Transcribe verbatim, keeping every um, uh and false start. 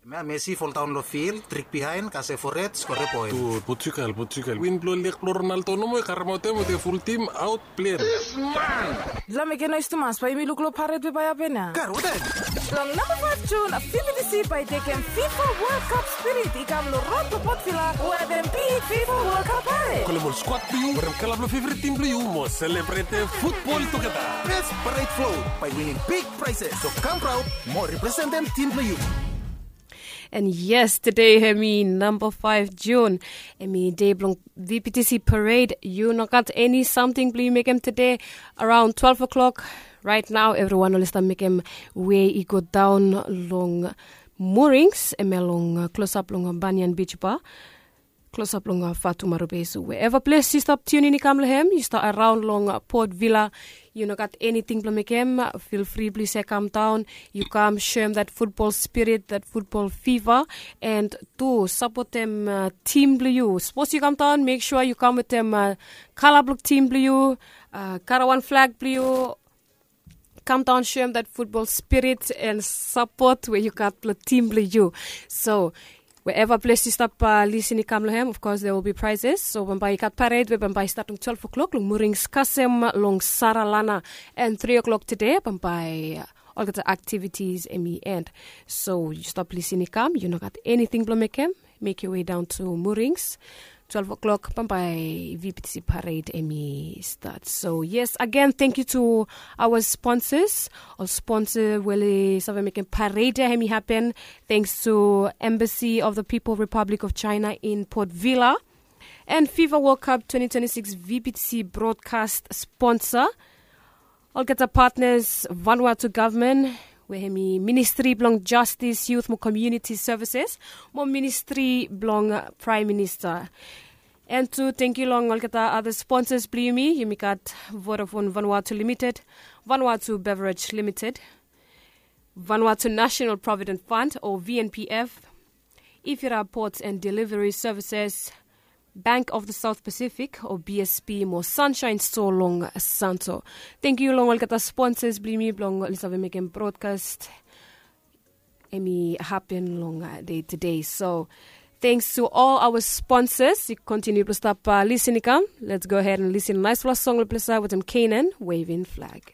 Mea Messi foldaon long fil, trik bihaen, kasem fored, skore poen. Dud, Portugal, Portugal. Win blong leg blong Ronaldo nomo i karemaot hem wetem ful tim aot plen. Lame gen nois tumas, bae yumi luk long pared we bae hapen ya. Kar, watem? Long namba faef Jun, V B T C bae tekem FIFA World Cup spirit i kam long rod blong Port Vila wetem big FIFA World Cup pared. Kolem ol skuad blong yu, werem kala blong feveret tim blong yu mo selebretem futbol tugeta. Best pared float bae winim big prizes. So kam praod mo representem tim blong yu. And yes, tede hemi namba faef Jun, hemi dei blong V B T C pared. Yu no gat eni samting blong yu mekem tede. Araon twelve o'clock, raet nao evriwan oli stap mekem wei i go daon long Moorings, hemia long klosap long Banyan Beach Bar, klosap long Fatu Marubei. So wherever ples yu stap tiunin i kam long hem, yu stap araon long Port Vila, yu no gat eniting blong mekem, fil fri blong yu save kam daon, yu kam soem dat futbol spirit, dat futbol fiva, and tu sapotem tim blong yu. Sapos yu kam daon, mek sua yu kam wetem kala blong tim blong yu, karaoan flag blong yu. Kam daon, soem dat futbol spirit and sapot we yu gat blong tim blong yu. So wherever ples yu stap lisin i kam long hem, of course there will be prizes. So bambae i gat pared we bambae i stat long twelve o'clock long Moorings kasem long Saralana, and three o'clock tede bambae olgeta activities hemi end. So yu stap lisin i kam, yu no gat eniting blong mekem, mek yu wei daon to Moorings. Twelve o'clock bambae V B T C pared hemi stat. So yes, again, thank you to our sponsors. Ol sponsa we oli save mekem pared ya hemi hapen. Thanks to Embassy of the People, Republic of China in Port Vila, and FIFA World Cup twenty twenty-six V B T C broadcast sponsor. Olgeta partners, Vanuatu gavman, we hemi Ministri blong Jastis, Yut mo Komuniti Sevises, mo Ministri blong Praem Minista. And tu tangkiu long olgeta ada sponsas blong yumi. Yumi gat Vodafone Vanuatu Limited, Vanuatu Beverage Limited, Vanuatu National Provident Fund o V N P F, Ifira Ports and Delivery Services, Bank of the South Pacific o B S P, mo Sunshine Store long Santo. Tangkiu long olgeta sponsas blong yumi blong oli save mekem broadcast hemi hapen long dei tede. So thanks to all our sponsors. Yu kontiniu blong stap lisin i kam. Let's go ahead and lisin naesfala song long ples ya wetem Canaan, Waving Flag.